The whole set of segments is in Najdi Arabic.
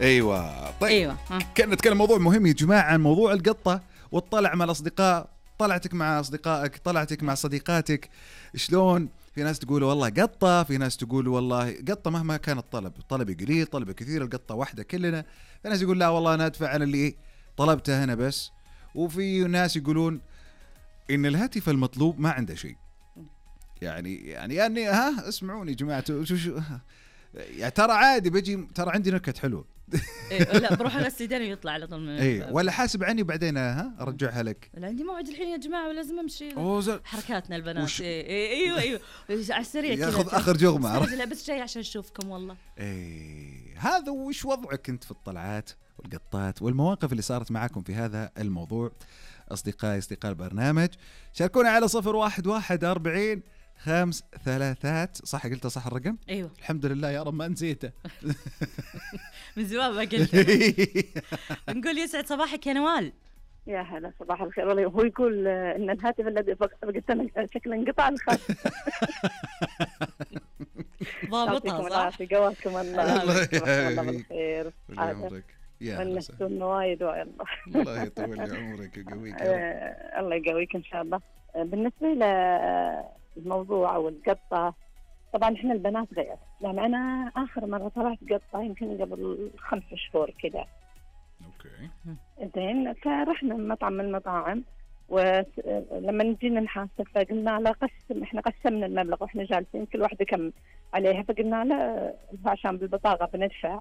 ايوه طيب ايوه كنا نتكلم موضوع مهم يا جماعه عن موضوع القطه والطلع مع الاصدقاء. طلعتك مع اصدقائك، طلعتك مع صديقاتك، شلون؟ في ناس تقول والله قطه، في ناس تقول والله قطه مهما كان الطلب قليل طلب كثير القطه واحده كلنا. في ناس يقول لا والله انا ادفع على اللي طلبته هنا بس. وفي ناس يقولون ان الهاتف المطلوب ما عنده شيء. يعني ها اسمعوني يا جماعه شو يعني ترى عادي بجي، ترى عندي نكت حلوه. إيه لا بروح اغسل يديني ويطلع على طول من اي ولا حاسب عني بعدين ارجعها لك. لا عندي موعد الحين يا جماعه ولازم امشي. حركاتنا البنات. ايوه على السريع كذا ياخذ اخر جغمه. لا بس جاي عشان اشوفكم والله. هذا وش وضعك انت في الطلعات والقطات والمواقف اللي صارت معاكم في هذا الموضوع؟ اصدقاء البرنامج شاركونا على 0114 5 3 صح قلت صح الرقم؟ ايوه الحمد لله يا رب ما نسيته. من زمان ما قلت. نقول يسعد صباحك يا نوال. يا هلا صباح الخير. والله هو يقول ان الهاتف الذي فقدتنا شكله انقطع الخط. ضابطها صح. جواكم الله بالخير. ونستون وايد والله. الله يطول عمرك ويقويك. الله يقويك ان شاء الله. بالنسبه للموضوع او القطه، طبعا احنا البنات غير. يعني انا اخر مره طلعت قطه يمكن قبل 5 شهور كذا. اوكي زين، فرحنا مطعم من المطاعم، ولما نجينا نحاسب فقلنا له احنا قسمنا المبلغ واحنا جالسين كل واحده كم عليها، فقلنا له عشان بالبطاقه بندفع،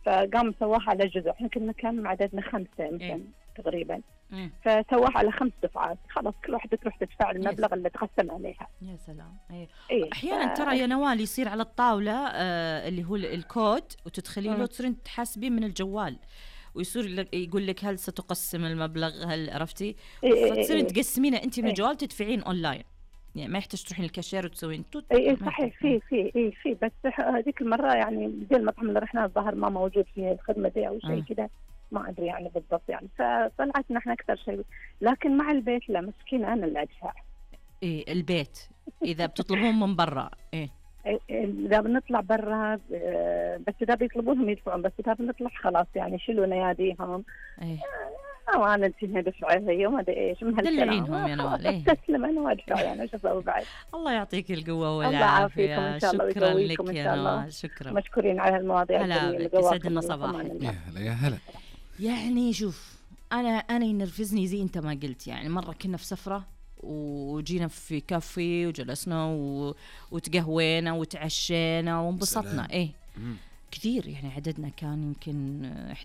فقام سواها على جزء. احنا كنا كم عددنا 5 يمكن تقريبا، فسواها على 5 دفعات. خلاص كل واحدة تروح تدفع المبلغ اللي تقسم عليها. يا سلام. احيانا ترى يا نوال يصير على الطاوله اللي هو الكود وتدخلي له تصيرين تحاسبين من الجوال، ويصير يقول لك هل ستقسم المبلغ، هل عرفتي؟ فتصيرين تقسمينه انت من الجوال تدفعين اونلاين، يعني ما يحتاج تروحين الكاشير وتسوين صحيح. في بس هذيك المره يعني زي المطعم اللي رحنا الظهر ما موجود فيه الخدمه دي او شيء كذا، ما ادري يعني بالضبط يعني. فطلعت نحن اكثر شيء، لكن مع البيت لا مسكين انا اللي ادفع. البيت اذا بتطلبون من برا اذا بنطلع برا بس اذا بيطلبونهم يدفعون، بس اذا بنطلع خلاص يعني يشيلوا نياديهم. انا انتهي دفعه هي وما ادري ايش من دلعينهم يا نوال. استسلم انا وادفع يعني ايش اسوي بعد. الله يعطيك القوه والعافيه. شكرا لك يا نوال. شكرا، مشكورين على المواضيع اللي يسعدنا صباحك. يا هلا. يعني شوف انا ينرفزني زي انت ما قلت. يعني مره كنا في سفره وجينا في كافي وجلسنا وتقهوينا وتعشينا وانبسطنا. كثير يعني عددنا كان يمكن